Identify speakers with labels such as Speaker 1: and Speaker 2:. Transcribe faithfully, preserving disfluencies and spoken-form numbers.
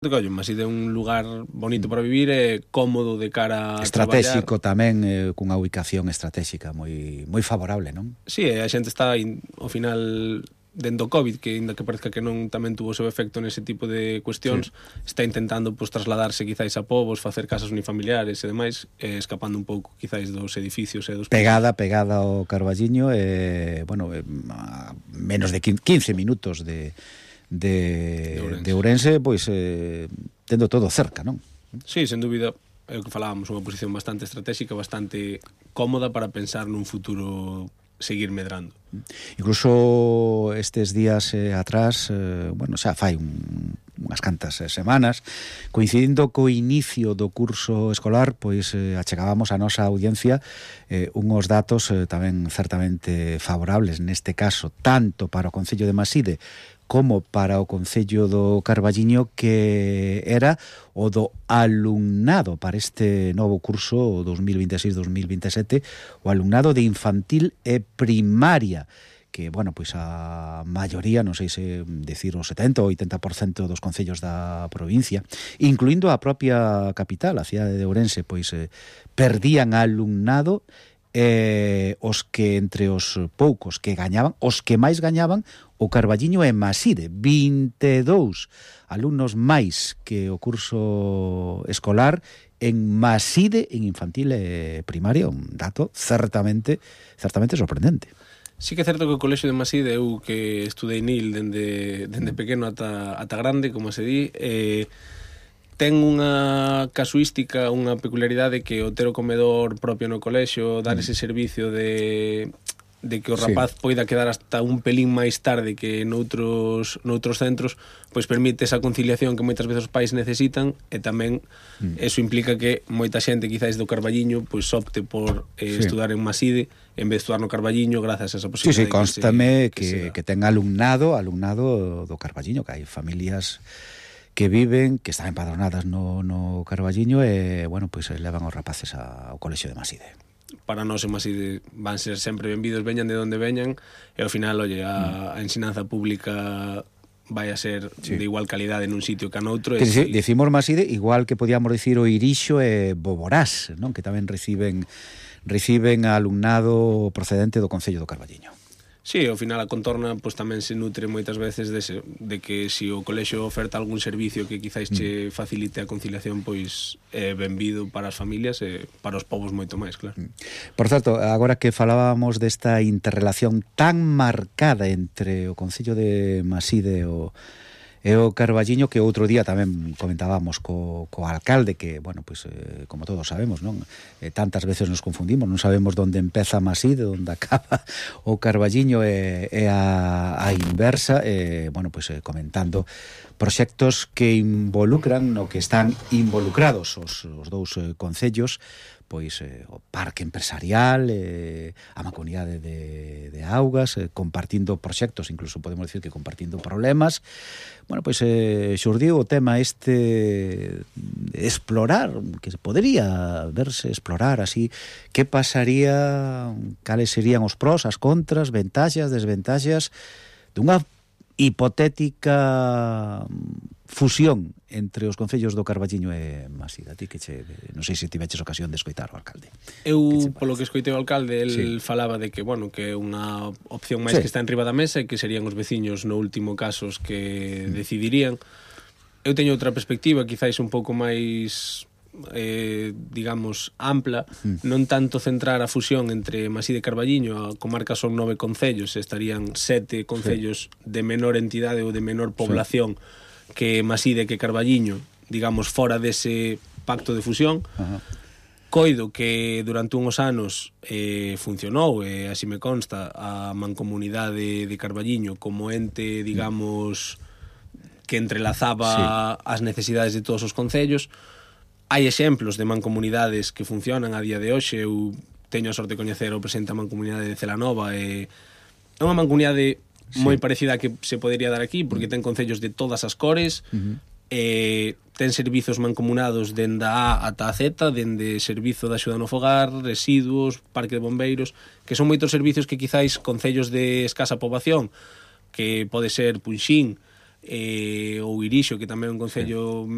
Speaker 1: Coño, Maside é un lugar bonito para vivir e cómodo de cara a
Speaker 2: estratégico
Speaker 1: traballar.
Speaker 2: tamén, eh, cunha ubicación estratégica moi moi favorable, non?
Speaker 1: Si, sí, a xente está in, ao final dentro do COVID, que ainda que parezca que non tamén tuvo o seu efecto nese tipo de cuestións, sí. Está intentando pues, trasladarse quizáis a povos, facer casas unifamiliares e demais, eh, escapando un pouco quizáis dos edificios e dos
Speaker 2: pegada, pisos. Pegada ao Carballiño, eh, bueno, eh, a menos de quince minutos de de, de, Ourense. de Ourense, pois eh, tendo todo cerca, non?
Speaker 1: Sí, sen dúbida, é o que falábamos, unha posición bastante estratégica, bastante cómoda para pensar nun futuro seguir medrando.
Speaker 2: Incluso estes días eh, atrás, eh, bueno, xa fai un, unhas cantas eh, semanas, coincidindo co inicio do curso escolar, pois eh, achegábamos a nosa audiencia eh, unhos datos eh, tamén certamente favorables, neste caso, tanto para o Concello de Maside como para o Concello do Carballiño, que era o do alumnado para este novo curso dos mil vinte e seis dos mil vinte e sete, o alumnado de infantil e primaria, que, bueno, pois a maioría, non sei se decir o setenta ou oitenta por cento dos concellos da provincia, incluindo a propia capital, a cidade de Ourense, pois eh, perdían alumnado, eh, os que entre os poucos que gañaban, os que máis gañaban, o Carballiño e Maside, vinte e dous alumnos máis que o curso escolar en Maside, en infantil e primaria, un dato certamente certamente sorprendente.
Speaker 1: Sí que é certo que o colexio de Maside, eu que estudei nil dende, dende pequeno ata, ata grande, como se di, eh, ten unha casuística, unha peculiaridade que o ter o comedor propio no colexio, dar ese servicio de... de que o rapaz sí. Poida quedar hasta un pelín máis tarde que noutros, noutros centros, pois permite esa conciliación que moitas veces os pais necesitan, e tamén mm. eso implica que moita xente quizáis do Carballiño pois opte por eh, sí. estudar en Maside en vez de estudar no Carballiño grazas a esa posibilidade.
Speaker 2: Sí, sí, constame que,
Speaker 1: que,
Speaker 2: que, que ten alumnado alumnado do Carballiño, que hai familias que viven, que están empadronadas no, no Carballiño e, bueno, pois levan os rapaces ao colexio de Maside.
Speaker 1: Para nós en Maside van ser sempre benvidos, veñan de onde veñan, e ao final, oye, a, a ensinanza pública vai a ser sí. de igual calidade nun sitio que a noutro.
Speaker 2: Que si, decimos Maside, igual que podíamos dicir o Irixo e Boborás, non? Que tamén reciben reciben alumnado procedente do Concello do Carballiño.
Speaker 1: Sí, ao final a contorna pues, tamén se nutre moitas veces de, se, de que se si o colexio oferta algún servicio que quizáis che facilite a conciliación, pois é benvido para as familias e para os povos moito máis, claro.
Speaker 2: Por certo, agora que falábamos desta interrelación tan marcada entre o Concello de Maside e o E o Carballiño, que outro día tamén comentábamos co, co alcalde, que, bueno, pois, eh, como todos sabemos, non? Eh, tantas veces nos confundimos, non sabemos onde empeza Maside, onde acaba o Carballiño e, e a, a inversa, e, bueno, pois, eh, comentando proxectos que involucran, no que están involucrados os, os dous eh, concellos, pois eh, o parque empresarial, eh, a Mancomunidade de, de Augas, eh, compartindo proxectos, incluso podemos decir que compartindo problemas. Bueno, pois eh, xurdiu o tema este de explorar, que podría verse explorar así, que pasaría, cales serían os pros, as contras, ventaxas, desventaxas dunha hipotética fusión entre os concellos do Carballiño e Maside. A ti que che, non sei se tiveches ocasión de escoitar o alcalde.
Speaker 1: Eu, que polo que escoitei o alcalde, el sí. falaba de que, bueno, que é unha opción máis sí. que está enriba da mesa e que serían os veciños no último casos que mm. decidirían. Eu teño outra perspectiva, quizáis un pouco máis eh, digamos, ampla, mm. non tanto centrar a fusión entre Maside e Carballiño. A comarca son nove concellos, estarían sete concellos sí. de menor entidade ou de menor población sí. que Maside que Carballiño, digamos, fora dese pacto de fusión. Uh-huh. Coido que durante unhos anos eh, funcionou, e eh, así me consta, a mancomunidade de Carballiño como ente, digamos, que entrelazaba sí. as necesidades de todos os concellos. Hai exemplos de mancomunidades que funcionan a día de hoxe. Eu teño a sorte de coñecer o presidente da mancomunidade de Celanova, e é unha mancomunidade sí. moi parecida a que se podería dar aquí, porque ten concellos de todas as cores, uh-huh. e ten servizos mancomunados dende a A ata a Z, dende servizo de axuda no fogar, residuos, parque de bombeiros, que son moitos servizos que quizáis concellos de escasa poboación, que pode ser Punxín, eh, ou Irixo, que tamén é un concello... Sí.